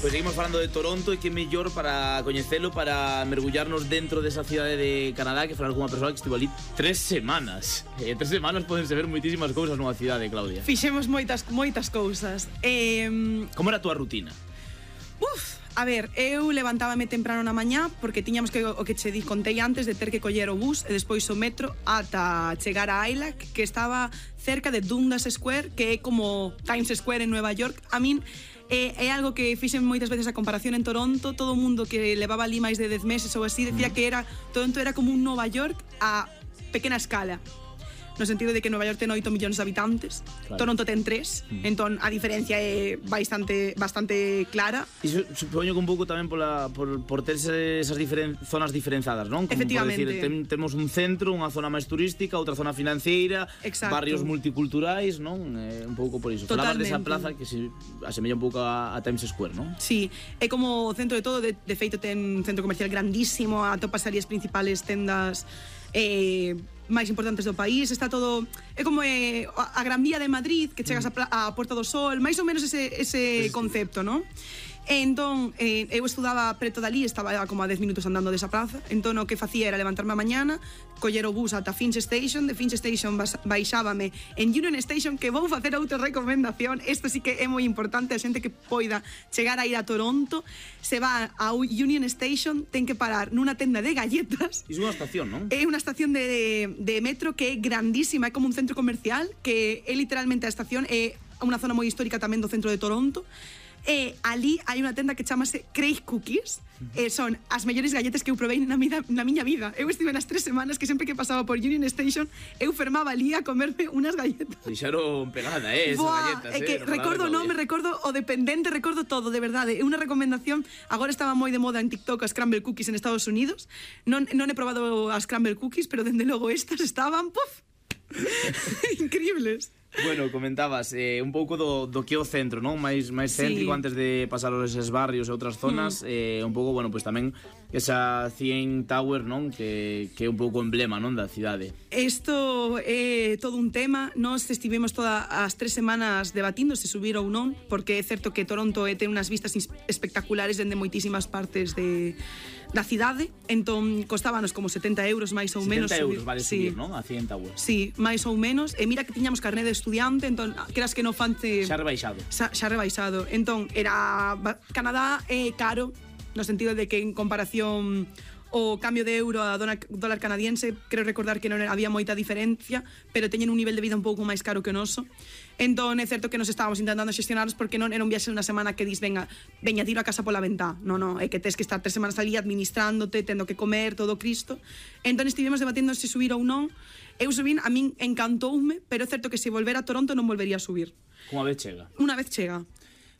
Pois seguimos falando de Toronto e que mellor para coñecelo, para mergullarnos dentro desa cidade de Canadá, que falar con unha persoa que estivo ali 3 semanas. 3 semanas podense ver moitísimas cousas nunha cidade, Claudia. Fixemos moitas cousas. Como era a túa rutina? A ver, eu levantábame temprano na mañá porque tiñamos que, o que che contei antes, de ter que coller o bus e despois o metro ata chegar a Ailac, que estaba cerca de Dundas Square, que é como Times Square en Nueva York. A min é algo que fixen moitas veces a comparación en Toronto. Todo o mundo que levaba ali máis de 10 meses ou así decía que Toronto era como un Nova York a pequena escala, no sentido de que Nova York ten 8 millóns de habitantes, claro. Toronto ten 3, entón a diferencia é bastante clara. E supoño que un pouco tamén por ter esas zonas diferenciadas, non? Como efectivamente. Por decir, temos un centro, unha zona máis turística, outra zona financiera, exacto. Barrios multiculturais, non? Un pouco por iso. Falabas desa plaza que se asemella un pouco a Times Square, non? Sí, é como o centro de todo, de feito ten un centro comercial grandísimo, atopas ali as principales tendas máis importantes do país, está todo, é como a Gran Vía de Madrid, que chegas a Porta do Sol, máis ou menos ese concepto, non? Entón, eu estudaba preto dali, estaba como a 10 minutos andando desa praza, entón o que facía era levantarme a mañana, coller o bus ata Finch Station, de Finch Station baixábame en Union Station, que vou facer outra recomendación, isto sí que é moi importante, a xente que poida chegar a ir a Toronto, se va a Union Station, ten que parar nunha tenda de galletas. Iso é unha estación, non? É unha estación de metro que é grandísima, é como un centro comercial, que é literalmente a estación, é unha zona moi histórica tamén do centro de Toronto. E ali hai unha tenda que chamase Craig Cookies, son as mellores galletas que eu provei na miña vida. Eu estive nas 3 semanas que sempre que pasaba por Union Station eu fermaba ali a comerme unhas galletas. Fixaron pegada, esas galletas. É que recordo o nome, recordo o dependente, recordo todo, de verdade. É unha recomendación. Agora estaba moi de moda en TikTok as Scramble Cookies en Estados Unidos. Non he probado as Scramble Cookies, pero dende logo estas estaban, increíbles. Bueno, comentabas un pouco do que é o centro, non? Máis céntrico, sí. Antes de pasar eses barrios e outras zonas, un pouco, bueno, pues tamén esa CN Tower, non? Que é un pouco emblema, non, da cidade. Isto é todo un tema. Nós estivemos todas as 3 semanas debatindo se subir ou non, porque é certo que Toronto ten unhas vistas espectaculares dende moitísimas partes da cidade, entón costábanos como 70 euros máis ou menos. 70 euros vale subir, non? A CN Tower. Sí, máis ou menos. E mira que tiñamos carné de estudiante, entón, creas que non fante... Xa rebaixado. Xa rebaixado. Entón, Canadá é caro, no sentido de que en comparación o cambio de euro a dólar canadiense, creo recordar que non había moita diferencia, pero teñen un nivel de vida un pouco máis caro que o noso. Entón, é certo que nos estábamos intentando xestionarnos porque non era un viaxe de unha semana que dis, veña, tiro a casa pola ventá. Non, é que tes que estar 3 semanas ali administrándote, tendo que comer, todo Cristo. Entón, estivemos debatendo se subir ou non. Eu subín, a min encantoume, pero é certo que se volver a Toronto non volvería a subir. Unha vez chega. Unha vez chega.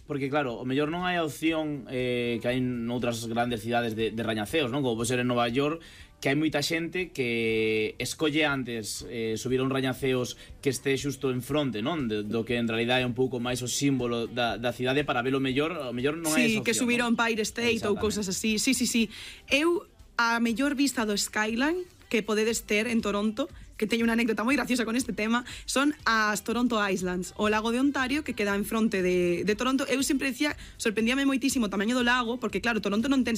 Porque claro, o mellor non hai a opción que hai noutras grandes cidades de rañaceos, non? Como pode ser en Nova York, que hai moita xente que escolle antes subir a un rañaceos que este xusto en fronte, non? Do que en realidad é un pouco máis o símbolo da cidade para ver o mellor non hai esa opción. Sí, que subir ao Empire State ou cousas así. Sí. Eu, a mellor vista do skyline que podedes ter en Toronto, que teño unha anécdota moi graciosa con este tema, son as Toronto Islands, o lago de Ontario que queda en fronte de Toronto. Eu sempre decía, sorprendíame moitísimo o tamaño do lago, porque claro, Toronto non ten